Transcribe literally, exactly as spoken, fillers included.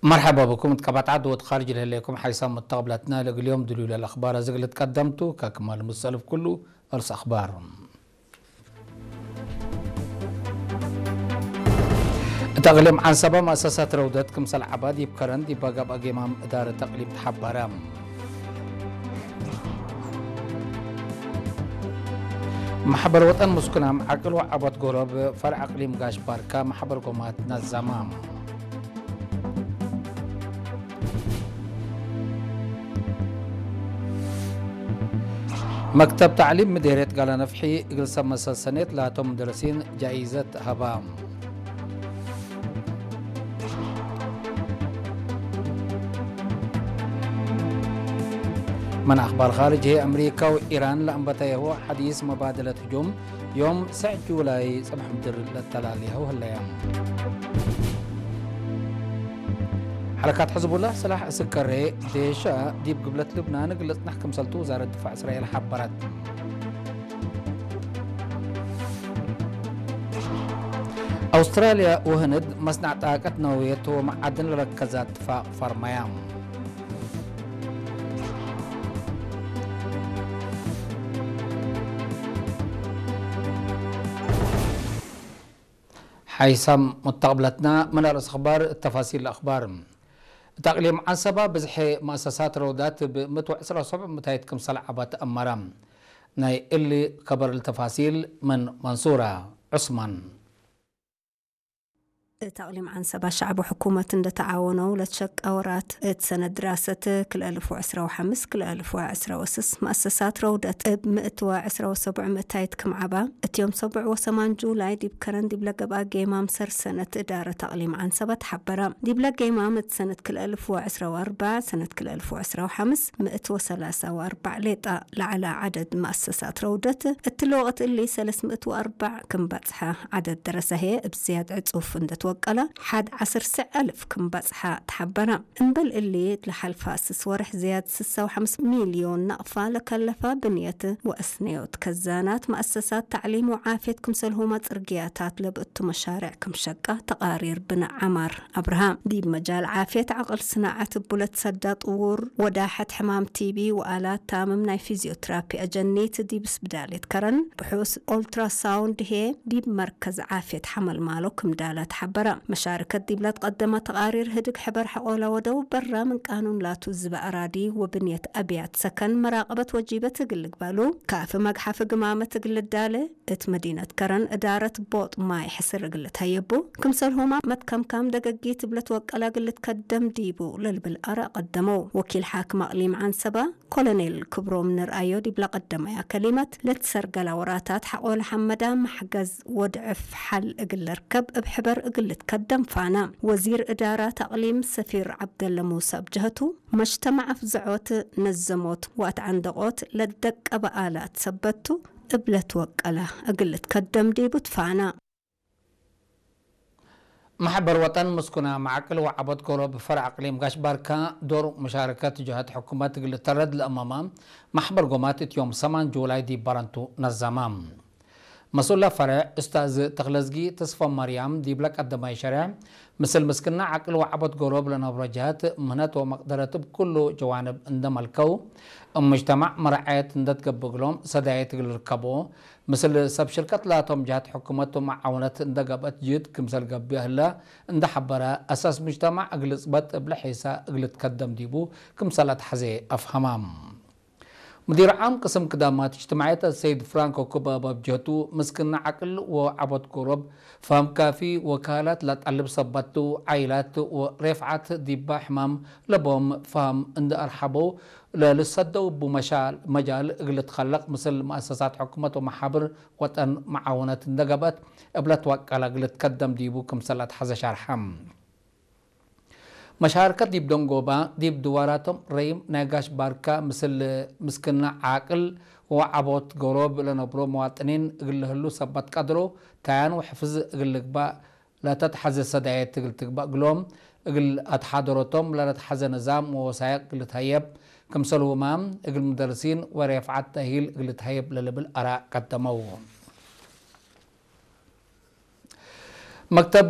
መርሐባ ብኩም። እት ቀባጽ ዐድ ወእት ካርጅ ለህሌኩም ሓይሳም መተቅብለትነ፣ ለእግል ዮም ድሉለ ለአኽባር አዜ እግል ልትቀደም ቱ። ከክማል ምሰልፍ ኩሉ፣ እርስ አኽባር። እት አቅሊም ዐንሰበ መአሰሳት ረውደት ክምሰል ዐባ ዲብ ከረን ዲብ ገብአ ጌማም እዳረት አቅሊም ተሐበረ። መሕበር ወጠን ምስኩናም ዐቅል ወዐቦት ጎሮብ ፈርዕ አቅሊም ጋሽ ባርካ መሕበር ጎማት ነዘመ። መክተብ ተዕሊም ምዴርየት ጋላ ነፍሒ እግል ሰብ መሰል ሰኔት ላቶም ሙደረሲን ጃኢዘት ሀባ። ምን አኽባር ኻርጅ ህዬ፣ አምሪካ ወኢራን ለአንበተየሁ ሐዲስ መባደለት ህጁም ዮም ሰዕ ጁላይ ጽብሕ ምድር ለተላሌሀው ህለየ። ሐረካት ሕዝቡላህ ስላሕ እስከሬ ዴሻ ዲብ ግብለት ልብናን እግል ልጽነሕ ክምሰልቱ ውዛረት ድፋዕ እስራኤል ሐበረት። አውስትራልያ ወህንድ መስናዕ ጣቀት ነውየት ወመዓድን ለረከዘ እትፋቅ ፈርመያ። ሓይሳም ሙተቅብለትና፣ ምን አርእስ አኽባር፣ ተፋሲል አኽባር። እት አቅሊም ዐንሰባ ብዝሒ መአሰሳት ረውዳት እብ ምእት ወዕስራ ወሰብዕ ምታይት ክምሰል ዐባ ተአመረ። ናይ እሊ ከበር ለተፋሲል ምን መንሱራ ዑስማን። እት አቅሊም ዐንሰባ ሸዕብ ወሕኩመት እንደ ተዓወነው ለትሸቀ ወራት፣ እት ሰነት ድራሰት ክልኤ አልፍ ወዕስራ ወሐምስ ክልኤ አልፍ ወዕስራ ወስስ መአሰሳት ረውደት እብ ምእት ወዕስራ ወሰቡዕ ምእታይት ክም ዐባ፣ እት ዮም ሰቡዕ ወሰማን ጁላይ ዲብ ከረን ዲብለ ገብአ ጌማም ሰር ሰነት እዳረት አቅሊም ዐንሰባ ተሐበረ። ዲብለ ጌማም እት ሰነት ክልኤ አልፍ ወዕስራ ወአርበዕ፣ ሰነት ክልኤ አልፍ ወዕስራ ወሐምስ ምእት ወሰላሳ ወአርበዕ ሌጣ ለዐለ ዐደድ መአሰሳት ረውደት፣ እትሊ ወቅት እሊ ሰለስ ምእት ወአርበዕ ክም በጽሐ፣ ዐደድ ደረሰ ህዬ እብ ዝያድ ዕጹፍ እንደ ትወቀለ፣ ሐድ ዐስር ስዕ አልፍ ክም በጽሐ ተሐበረ። እምበል እሊ፣ ለሐልፈ ስስ ወርሕ ዝያድ ስሳ ወሐምስ ሚልዮን ናቅፋ ለከለፈ ብንየት ወአስነዮት ከዛናት፣ መአሰሳት ተዕሊም ወዓፍየት ክምሰልሁመ ጽርግያታት ለብእቱ መሻርዕ ክም ሸቀ ተቃሪር ብነ ዐማር። አብርሃም፣ ዲብ መጃል ዓፍየት ዐቅል ስናዐት እቡ ለትሰዳ ጥዉር ወዳሐት ሕማም ቲቢ ወአላት ታምም ናይ ፊዝዮትራፒ አጀኒት ዲብ ስብዳልየት ከረን፣ ብሑስ ኦልትራሳውንድ ህዬ ዲብ መርከዝ ዓፍየት ሐመልማሎ ክም ዳለ ተሐበረ። መሻርከት ዲብ ለትቀደመ ተቃሪር ህድግ ሕበር ሐቆለ ወደው በረ ምን ቃኑን ላቱ ዝበ አራዲ ወብንየት አብያት ሰከን መራቀበት ወጂበት እግል ልግበሉ፣ ካፊ መግሐፊ ግማመት እግል ልዳለ፣ እት መዲነት ከረን እዳረት ቦጥ ማይ ሕስር እግል ልትሀየቡ፣ ክምሰልሁመ መትከምካም ደገጊት እብ ለትወቀለ እግል ልትከደም ዲቡ ለልብል አረ ቀደመው። ወኪል ሓክም አቅሊም ዐንሰበ ኮሎኔል ክብሮም ንርአዮ ዲብ ለቀደመያ ከሊመት፣ ለትሰርገላ ወራታት ሐቆለ ሐመዳ መሕገዝ ወድዕፍ ሐል እግል ልርከብ እብ ሕበር እግል ልትከደም ፋነ። ወዚር እዳራት አቅሊም ሰፊር ዐብደለ ሙሰ እብ ጀህቱ፣ መጅተማዕ አፍዘዖት፣ ነዘሞት ወአትዐንደቆት ለደቀበ አላት ሰበት ቱ፣ እብ ለትወቀለ እግል ልትከደም ዲቡ ትፋነ። መሕበር ወጠን ምስኩና መዓቅል ወዐቦት ጎሮብ ፈርዕ አቅሊም ጋሽ ባርካ ዶር ሙሻረከት ጀሀት ሕኩመት እግል ልተረድ ለአመመ መሕበር ጎማት እት ዮም ሰማን ጁላይ ዲብ በረንቱ ነዘመ። መስኡለ ፈርዕ ኡስታዝ ተክለዝጊ ተስፈማርያም ዲብለ ቀደማይ ሸርሕ፣ ምስል ምስክና ዐቅል ወዐቦት ጎሮብ ለነብሮ ጀሀት ምህነት ወመቅደረት እብ ኩሉ ጀዋንብ እንደ መልከው፣ እብ ሙጅተማዕ መረዐየት እንደ ትገብእ እግሎም ሰዳየት እግል ልርከቦ፣ ምስል ሰብ ሽርከት ላቶም ጀሀት ሕኩመት ወመዓውነት እንደ ገብአት ጅህድ ክምሰል ገብእ ህለ እንደ ሐበረ፣ አሳስ ሙጅተማዕ እግል ጽበጥ እብለ ሒሳ እግል ልትከደም ዲቡ ክምሰል አትሐዜ አፍሀመ። ሙዲር ዓም ቅስም ክዳማት እጅትማዕየት አሰይድ ፍራንኮ ኩባባ እብ ጀህቱ፣ ምስክና ዐቅል ወዐቦት ጎሮብ፣ ፈሀም ካፊ ወካላት ለጠልብ ሰበት ቱ፣ ዓይላት ወሬፍዓት ዲባ ሕማም ለቦም ፈሀም እንዴ አርሐበው፣ ለልሰደው እቡ መሻል፣ መጃል እግል ልትከለቅ፣ ምስል መአሰሳት ሕኩመት ወመሓብር ወጠን መዓውነት እንዴ ገብአት እብ ለትወቀለ እግል ልትከደም ዲቡ ክምሰል አትሐዘ ሸርሐ። መሻርከት ዲብ ደንጎባ፣ ዲብ ድዋራቶም ረይም ናይ ጋሽ ባርካ ምስል ምስክና ዓቅል ወዐቦት ጎሮብ ለነብሮ መዋጥኒን እግል ለህሉ ሰበት ቀድሮ፣ ታያን ወሕፍዝ እግል ልግባእ ለተትሐዘ ሰዳየት እግል ትግባእ እግሎም፣ እግል አትሓደሮቶም ለለትሐዘ ንዛም ወወሳይቅ እግል ልትሀየብ፣ ክምሰልሁመ እግል ሙደርሲን ወሬፍዓት ተእሂል እግል ልትሀየብ ለልብል አራእ ቀደመው። መክተብ